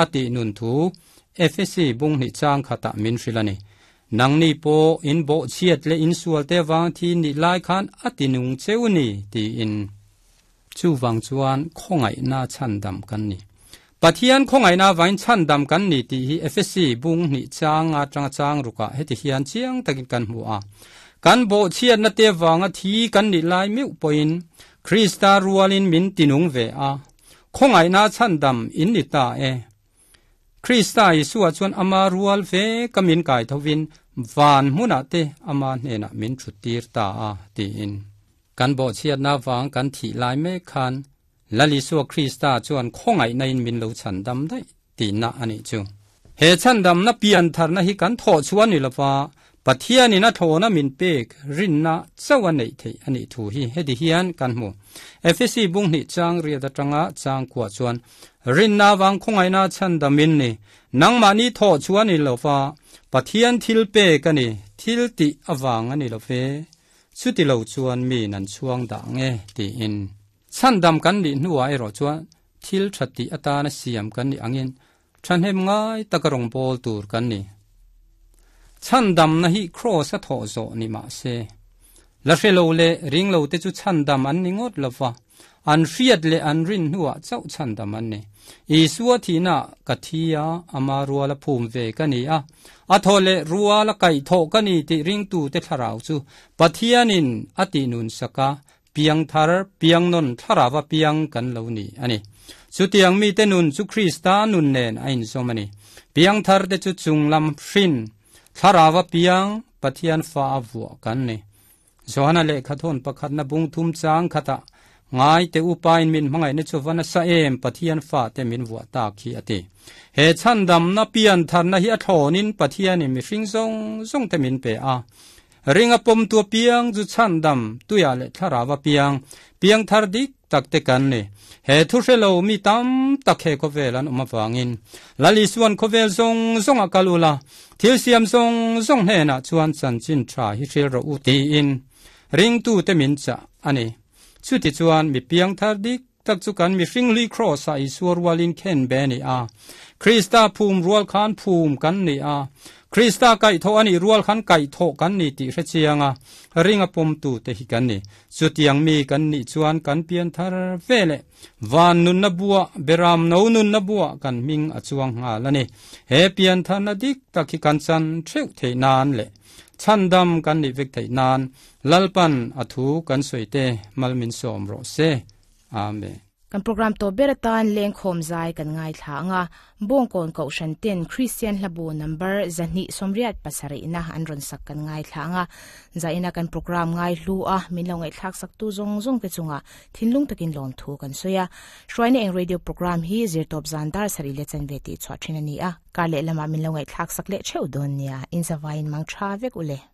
a tih nun thu Efesi bung hnih chang khatah min hrilh a ni. Nangni pawh in bawhchhiat leh in sualte avang thi nih lai khan a ti nung cheu ni tiin. Chuvang chuan khawngaihna chhandam kan ni. Pathian khawngaihna avangin chhandam kan ni tih hi Efesi bung hnih chang atanga chang rukah heti hian chiang takin kan hmu a. Kan bawhchhiatna te avanga thi kan nih lai meuh pawhin Krista rualin min tinung ve a, khawngaihna chhandam in ni ta e. Krista Isua chuan ama rual ve ka min kai thovin van hmunah te ama hnenah min thuttir ta a tiin. Kan bawhchhiatna vang kan thih lai mek khan Lal Isua Krista chuan khawngaihna in min lo chhandam daih tihna a nih chu. He chhandamna piantharna hi kan thawh chhuah ni lova Pathianin a thlawna min pek rinna chauh a neih theih a nih thu hi heti hian kan hmu. Efesi bung hnih chang riat atanga chang kuah chuan, Rinna vang khawngaihna chhandamin ni, nangmahni thawh chhuah ni lova Pathian thil pek a ni, thil tih avang a ni lo ve. Chuti lo chuan miin an chhuang dah nge tiin. Chhandam kan nih hnuah erawh chuan thil tha tih atana siam kan nih angin Thahnem ngai taka rawngbâwl tur kan ni. Chhandamna hi Kraws a thawh zawh ni mah se, la hre lo leh ring lote chu chhandam an ni ngawt lo va, an hriat leh an rin hnuah chauh chhandam an ni. Isua thihnaah ka thi a, ama ruala phum ve ka ni a, a thaw leh ruala kaihthawh ka ni tih ringtute thlarau chu Pathianin a tihnunsak a, Piang thar, piang nawn thlarava piang kan lo ni a ni. Chutiang mite nun chu Krista nun nen a inzawm a ni. Piang tharte chu chunglam hrin, thlarava piang, Pathian fa a vuah kan ni. Johana lehkhathawn pakhatna bung thum chang khatah, Ngaite upain min hmangaihna chu va nasa em, Pathian fate min vuah tak hi a ti. He chhandamna pian tharna hi a thlawnin Pathianin mihring zawng zawngte min pe a. Ringa pawmtu apiang chu chhandam, tuiah leh thlarau apiang, piang thar dik tak te kan ni. He thu hre lo mi tam tak he khawvel an awm avangin Lal Isuan khawvel zawng zawng a kal ula, thil siam zawng zawng hnenah chuan chanchin tha hi hril rawh u tiin ringtute min chah a ni. Chutichuan mi piang thar dik tak chu kan mihring hlui Kraws-ah Isua rualin khen be a ni a. Krista phum rual khan phum kan ni a. Krista kaihthawh a nih rual khan kaihthawh kan ni tih hre chiang a, ring a pawmtute hi kan ni. Chutiang mi kan nih chuan kan pian thar ve leh van nunna buah, beram no nunna buah kan hming a chuang nghal a ni. He pian tharna dik tak hi kan chan theuh theih nan leh chhandam kan nih vek theih nan Lalpan a thu kan sawi te mal min sawm rawh se. Amen. Kan program tawp ber atan lengkhawm zai kan ngaithla ang a, Bawngkawn Kohhran ten Kristian Hlabu number 287 na an rawn sak kan ngaithla ang a, zaina kan program ngai hlu a min lo ngaihthlak sak tu zawng zawng te chungah thinlung takin lawmthu kan sawi a. Hruaina eng radio program hi zirtawp zan dar sarih leh chanve tih chhuah thin a ni a, kar leh lamah min lo ngaihthlak sak leh theuh dawn nia, inzavaiin mang tha vek u le.